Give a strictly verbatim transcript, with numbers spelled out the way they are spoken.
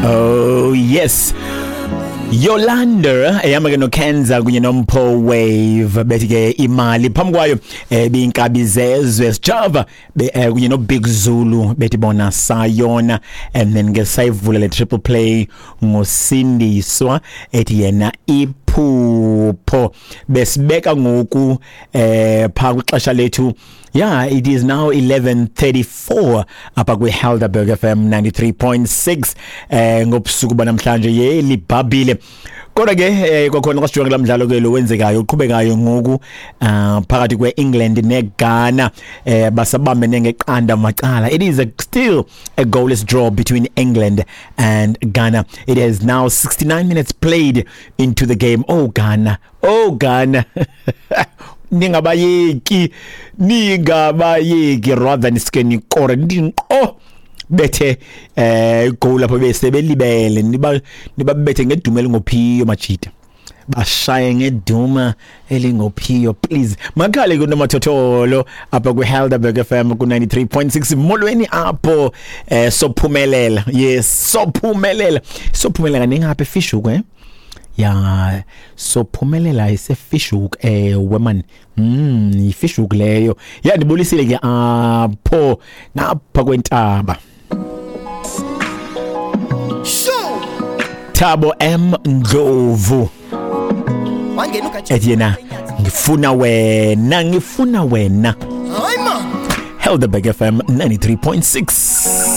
Oh yes. Yolanda ehamba ke noKenza kunye noMpho Wave, bethi ke imali. Phambi kwayo eh, biyinkabi zezwe Sjava eh, kunye noBig Zulu, bethi bona sayona. And then ke sayivula le triple play ngoSindiswa, ethi yena iphupho. Besibeka ngoku eh pha kwixesha lethu. Yeah, it is now eleven thirty-four apha kwi-Helderberg F M ninety-three point six eh ngobusuku banamhlanje. Yelibhabhile, kodwa ke eh, kwakhona xa sijonge lamdlalo ke lo wenzekayo, uqhubekayo ngoku uh, phakathi kwe-England neGhana, eh basabambene ngeqanda macala. It is a, still a goalless draw between England and Ghana. It is now sixty-nine minutes played into the game. Oh Ghana, oh Ghana, ningabayeki, ningabayeki, rather niske nikore ndinqo bethe eh igoal lapho bese belibele. Niba nibabethe ngeduma elingophiyo, majita, bashaye ngeduma elingophiyo, please. Makhale kunomathotholo apha kwi-Helderberg F M ku ninety-three point six. Molweni apho. eh sophumelela yes, sophumelela, sophumelela. Ningapha eFish Hoek, eh ya, sophumelela iseFish Hoek, ewe man, mm iFish Hoek leyo. Ya, ndibulisile ke apho ngapha kwentaba. Sure. Thabo M Ndlovu Wangena ugatsha. ethi yena ngifuna wena, ngifuna wena. Hayi man. Helderberg F M ninety-three point six.